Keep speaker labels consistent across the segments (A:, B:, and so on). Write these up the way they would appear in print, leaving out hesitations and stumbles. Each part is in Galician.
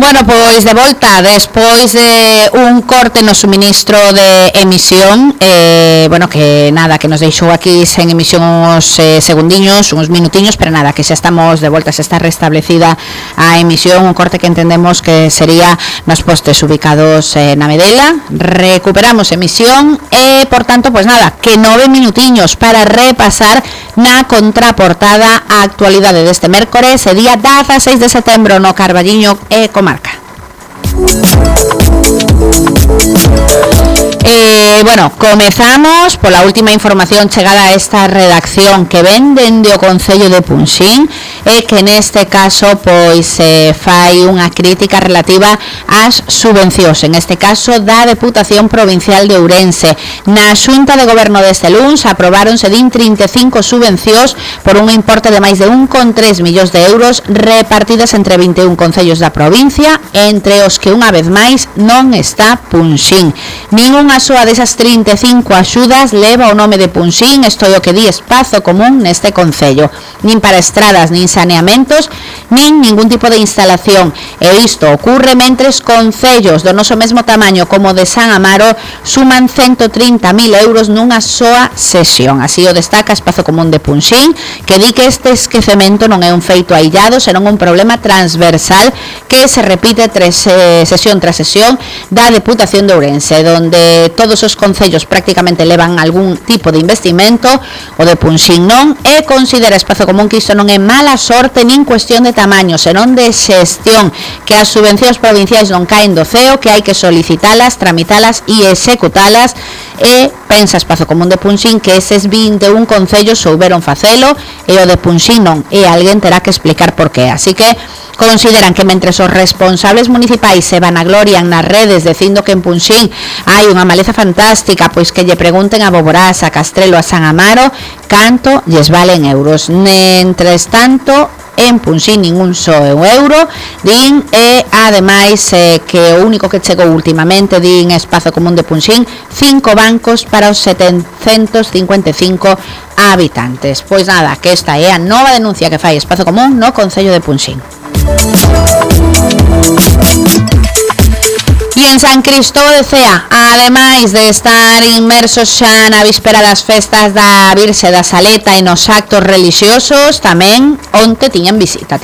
A: Bueno, pois de volta, despois de un corte no suministro de emisión, bueno, que nada, que nos deixou aquí sen emisión uns segundiños, uns minutiños, pero nada, que xa estamos de volta, xa está restablecida a emisión, un corte que entendemos que sería nos postes ubicados na Medela. Recuperamos emisión e, por tanto, pois nada, que 9 minutiños para repasar na contraportada a actualidade deste mércores, e día 16 de setembro no Carballiño e comarca. Bueno, comezamos pola última información chegada a esta redacción que ven dende o Concello de Punxín, e que neste caso pois fai unha crítica relativa ás subvencións, en este caso da Deputación Provincial de Ourense. Na Xunta de Goberno deste luns aprobáronse 35 subvencións por un importe de máis de 1,3 millóns de euros repartidas entre 21 concellos da provincia, entre os que unha vez máis non está Punxín. Ningunha soa desas 35 axudas leva o nome de Punxín, isto é o que di Espazo Común neste concello, nin para estradas, nin saneamentos, nin ningún tipo de instalación, e isto ocorre mentres concellos do noso mesmo tamaño como de San Amaro suman 130.000 euros nunha soa sesión. Así o destaca Espazo Común de Punxín, que di que este esquecemento non é un feito aillado, senón un problema transversal que se repite sesión tras sesión da Deputación de Ourense, donde todos os concellos prácticamente levan algún tipo de investimento, o de Punxín non, e considera Espazo Común que isto non é mala sorte nin cuestión de tamaño, senón de xestión, que as subvencións provinciais non caen do ceo, que hai que solicitalas, tramitalas e executalas, e pensa Espazo Común de Punxín que eses 21 concellos souberon facelo e o de Punxín non, e alguén terá que explicar por qué. Así que consideran que mentres os responsables municipais se vanaglorian nas redes dicindo que en Punxín hai unha maleza fantástica, pois que lle pregunten a Boborás, a Castrelo, a San Amaro canto lles valen euros. Mentres tanto, en Punxín ningún só euro, din, e ademais que o único que chegou últimamente, din Espazo Común de Punxín, 5 bancos para os 755 habitantes. Pois nada, que esta é a nova denuncia que fai Espazo Común no Concello de Punxín. E en San Cristóbal de Cea, ademais de estar inmersos xa na víspera das festas da Virxe da Saleta e nos actos religiosos, tamén onte tiñan visita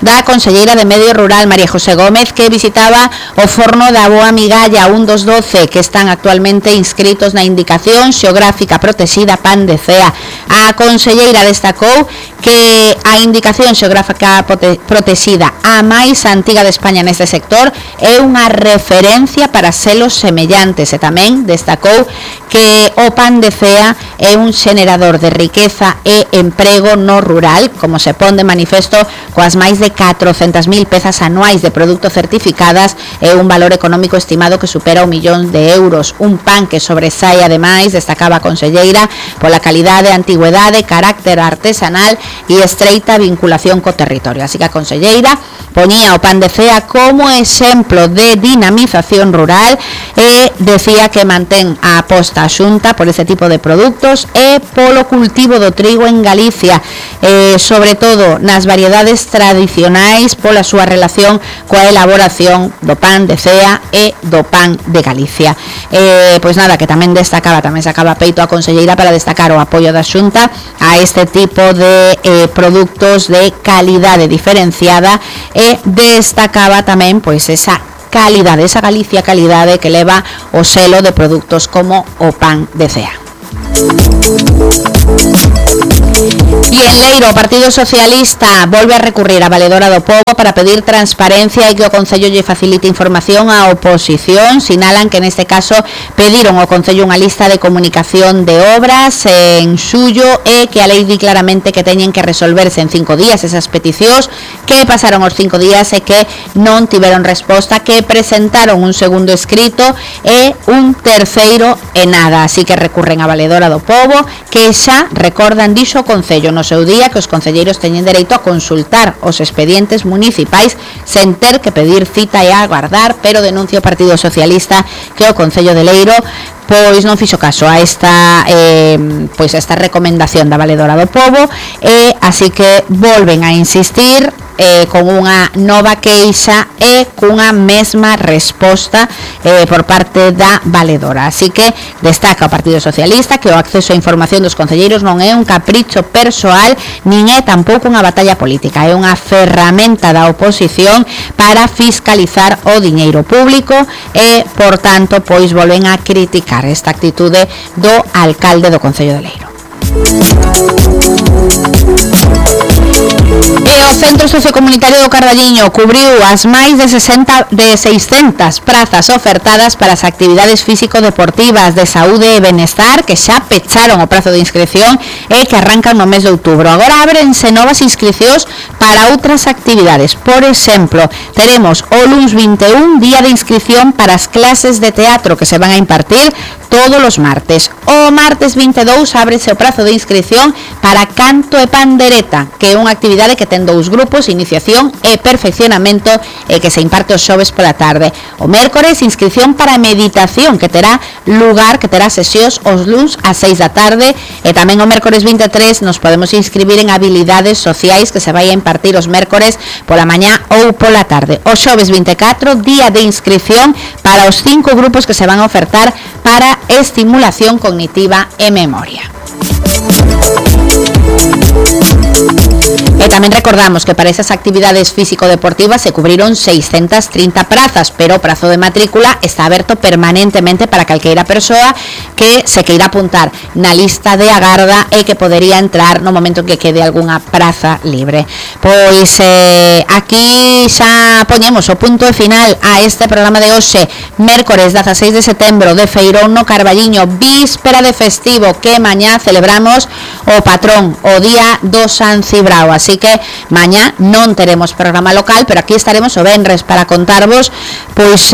A: da conselleira de Medio Rural, María José Gómez, que visitaba o forno da Boa Migalla, un dos 12 que están actualmente inscritos na indicación xeográfica protexida Pan de Cea. A conselleira destacou que a indicación xeográfica protexida a máis antiga de España neste sector é unha referencia para selos semellantes, e tamén destacou que o Pan de Cea é un xenerador de riqueza e emprego no rural, como se pon de manifesto coas máis de 400.000 pezas anuais de produtos certificadas e un valor económico estimado que supera 1 millón de euros. Un pan que sobresai, ademais, destacaba a conselleira, pola calidade, antigüedade, carácter artesanal e estreita vinculación co territorio. Así que a conselleira poñía o Pan de Cea como exemplo de dinamización rural e decía que mantén a aposta a Xunta por ese tipo de produtos e polo cultivo do trigo en Galicia, sobre todo nas variedades tradicionais, pola súa relación coa elaboración do Pan de Cea e do Pan de Galicia. Pois nada, que tamén sacaba peito a conselleira para destacar o apoio da Xunta a este tipo de produtos de calidade diferenciada, e destacaba tamén pois esa calidade, esa Galicia calidade que leva o selo de produtos como o Pan de Cea. E en Leiro, o Partido Socialista volve a recurrir a Valedora do Pobo para pedir transparencia e que o Concello lle facilite información á oposición. Sinalan que neste caso pediron ao Concello unha lista de comunicación de obras en xullo, e que a lei di claramente que teñen que resolverse en 5 días esas peticións, que pasaron os 5 días e que non tiveron resposta, que presentaron un segundo escrito e un terceiro e nada. Así que recurren a Valedora do Pobo, que xa recordan, dixo o Concello no seu día, que os concelleiros teñen dereito a consultar os expedientes municipais sen ter que pedir cita e agardar, pero denuncia o Partido Socialista que o Concello de Leiro pois non fixo caso a esta recomendación da Valedora do Pobo, e así que volven a insistir con unha nova queixa e cunha mesma resposta por parte da valedora. Así que destaca o Partido Socialista que o acceso á información dos concelleiros non é un capricho persoal nin é tampouco unha batalla política, é unha ferramenta da oposición para fiscalizar o diñeiro público e, por tanto, pois volven a criticar esta actitude do alcalde do Concello de Leiro. E o Centro Sociocomunitario do Carballiño cubriu as máis de 600 prazas ofertadas para as actividades físico-deportivas de saúde e benestar que xa pecharon o prazo de inscripción e que arrancan no mes de outubro. Agora ábrense novas inscripcións para outras actividades. Por exemplo, teremos o luns 21 día de inscripción para as clases de teatro que se van a impartir todos os martes. O martes 22 ábrese o prazo de inscripción para canto e pandereta, que é unha actividade que ten dous grupos, iniciación e perfeccionamento, e que se imparte os xoves pola tarde. O mércores, inscripción para meditación, que terá sesións os luns ás 6 da tarde, e tamén o mércores 23 nos podemos inscribir en habilidades sociais que se vai a impartir os mércores pola mañá ou pola tarde. O xoves 24, día de inscripción para os 5 grupos que se van a ofertar para estimulación cognitiva e memoria. E tamén recordamos que para esas actividades físico-deportivas se cubriron 630 prazas, pero o prazo de matrícula está aberto permanentemente para calqueira persoa que se queira apuntar na lista de agarda e que podería entrar no momento en que quede algunha praza libre. Pois aquí xa poñemos o punto final a este programa de hoxe, mércores 16 de setembro, de feirón no Carballiño, víspera de festivo, que mañá celebramos o patrón, o día do San Cibrao. Así que mañá non teremos programa local, pero aquí estaremos o venres para contarvos pois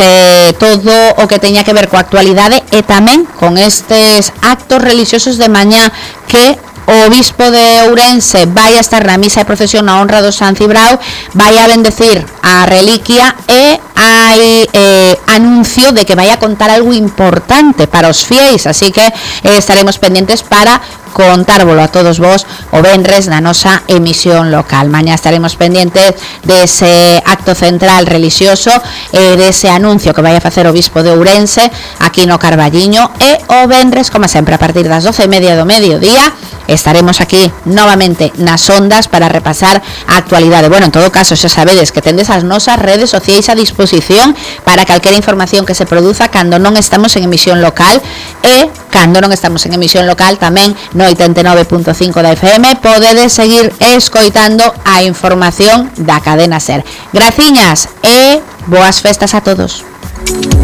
A: todo o que teña que ver coa actualidade e tamén con estes actos religiosos de mañá que o obispo de Ourense vai a estar na misa de procesión na honra do San Cibrao, vai a bendecir a reliquia e hai anuncio de que vai a contar algo importante para os fiéis, así que estaremos pendientes para contárvolo a todos vos o venres na nosa emisión local. Mañá estaremos pendientes dese acto central religioso e dese anuncio que vai a facer o obispo de Ourense aquí no Carballiño, e o venres, como sempre, a partir das 12:30 do mediodía estaremos aquí novamente nas ondas para repasar a actualidade. Bueno, en todo caso, xa sabedes que tendes as nosas redes sociais a disposición para calquera información que se produza cando non estamos en emisión local, e cando non estamos en emisión local tamén no 89.5 da FM podedes seguir escoitando a información da cadena SER. Graciñas e boas festas a todos.